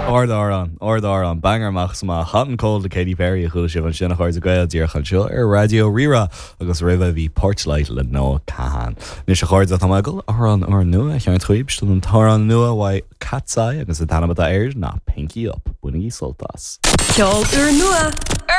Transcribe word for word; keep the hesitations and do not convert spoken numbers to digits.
Ardamhrán ardamhrán banger amach is amach Hot and Cold le Katy Perry a chuala sibh ansin a chairde Gael díreach anseo ar Raidió Rí-Rá agus roimhe bhí Porchlight le Noah Kahan. Anois a chairde tá go amhrán úrnua ceann chuib an t-amhrán nua uaidh Katseye agus an t-ainm atá air ná Pinky Up bainigí sult as. Ceol úrnua